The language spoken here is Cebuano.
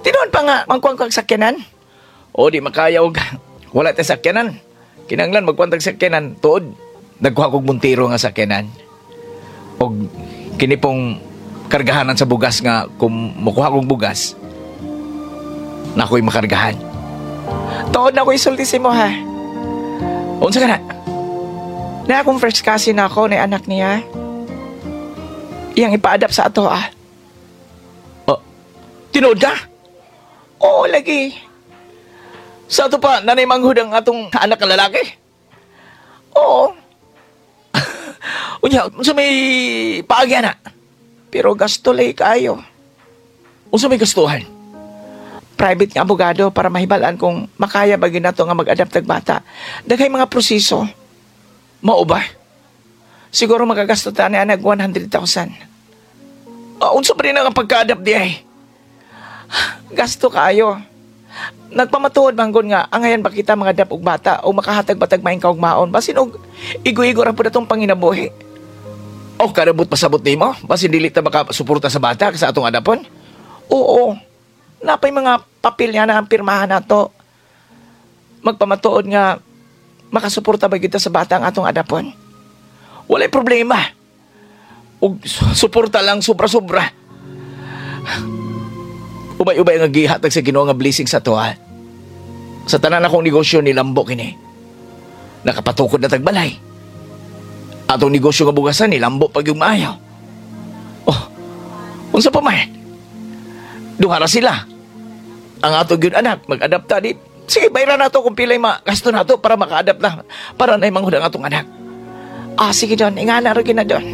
Tinuod pa nga mangkuan kag sakyanan? O di makaya og wala tay sakyanan. Kinanglan magkuan tag sakyanan tuod. Nagkuha kog Montero nga sakyanan. Og kini pong kargahanan sa bugas nga kung mukuha kog bugas na ako'y makargahan. Tuod na ko isulti si mo ha. Unsa ka na? Na akong first cousin ako na anak niya. Iyang ipa-adapt sa ato ah. Oh, tinuod ka? Oo, lagi. Sa ato pa, nanay manghud ang atong anak nga lalaki? Oo. Unya, unsa may paagi na? Pero gasto lay kayo. Unsa may gastuhan? Private nga abogado para mahibalaan kung makaya ba gyud nato nga mag-adapt og bata. Daghay mga proseso. Mao ba? Siguro magagasto ta ni anag 100,000. Ah, unsa pa rin ang pagka-adapt di ay? Gasto kaayo. Nagpamatuod manggod nga angayan ba kita mga adapt og bata o makahatag batag maayong kaugmaon basin og igo-igo ra pud atong panginabuhi. O karabot pasabot nimo basin dili ta makasuporta sa bata sa atong adapon? Oo. Napay mga papel nga na ang pirmahan nato. Magpamatuod nga makasuporta ba kita sa bata ang atong adapon. Walay problema. Og suporta lang sobra-sobra. Ubay-ubay nga gihatag sa Ginoo nga blessing sa tuwa. Sa tanan akong negosyo nilambo kini. Nakapatukod na tagbalay. Atong negosyo nga bugasan nilambo pag yung maayo. Oh, unsa pa man? Duha ra sila. Ang ato gyud anak mag-adapta di. Sige, bayaran nato kung pilay gasto nato para maka-adapt na para na manghud ang atong anak. Ah, sige, Don. Ingana ra gyud na, Don.